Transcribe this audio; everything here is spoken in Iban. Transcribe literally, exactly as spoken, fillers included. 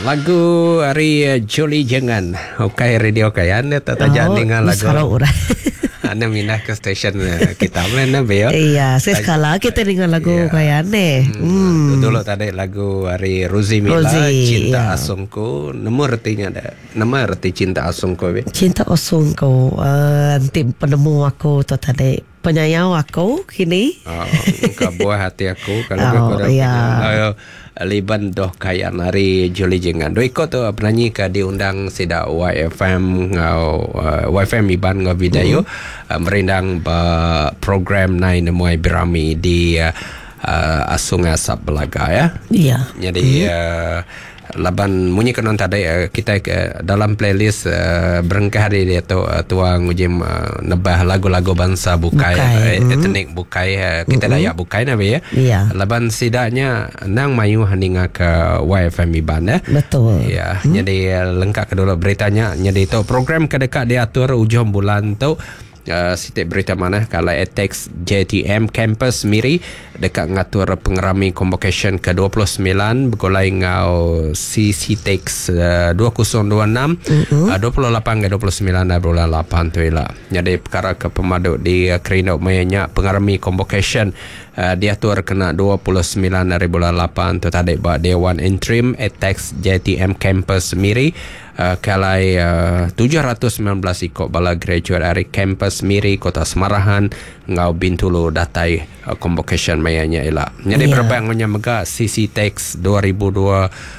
Lagu ari uh, Julie Jengan. Ukai radio kayan dia tak tajak Oh, dengan lagu. Salah orang. Anda mindah ke stesen uh, kita mana be ya. Iya, sekala kita dengar lagu Iya. kayan ni. Hmm. Dulu tadi lagu ari Rosie Mila, Rosie, Cinta iya. Asungku. Nemu artinya ada. Nama arti Cinta Asungku be. Cinta Asungku, uh, nanti penemu aku tu tadi. Penyayau aku kini. Oh, ke buah hati aku kalau Oh, aku dah iya. Ayo, Liban doh kayan hari Julie Jengan. Dua ikut tu penyanyi ke diundang sida Y F M ngau uh, Y F M Iban ngau Vidayu mm. uh, merindang ba program Nai Nemuai Birami di uh, uh, Asung Asap Belaga ya. Iya. Jadi hmm. uh, laban munyi kenon tadi uh, kita ke dalam playlist uh, berengkah hari dia tu uh, tuang ujim uh, nebah lagu-lagu bangsa bukai, Bukai, uh, etnik bukai, uh, kita Dayak bukai nabi ya. Iya. Laban sidaknya nang mayu haninga ke Y F M Iban ya. Betul. Ya, hmm. jadi uh, lengkap ke dulu beritanya. Jadi tu program ke dekat diatur ujung bulan tu. Uh, sitik berita mana kalau A T E X J T M Campus Miri dekat ngatur pengerami convocation kedua puluh sembilan bergulai ngau C C T E X uh, dua ribu dua puluh enam mm-hmm. uh, dua puluh lapan ke dua puluh sembilan bulan lapan tu ila. Jadi perkara ke pemaduk di uh, Kerindok mayanya pengerami convocation uh, diatur kena dua puluh sembilan hari bulan lapan tu tadi ba Dewan Interim A T E X J T M Campus Miri, uh, kalai uh, tujuh ratus sembilan belas ikut bala graduate dari kampus Miri, Kota Semarahan ngau Bintulu datai uh, convocation mayanya ila. Jadi Ya. yeah. berbang mega C C T E X dua ribu dua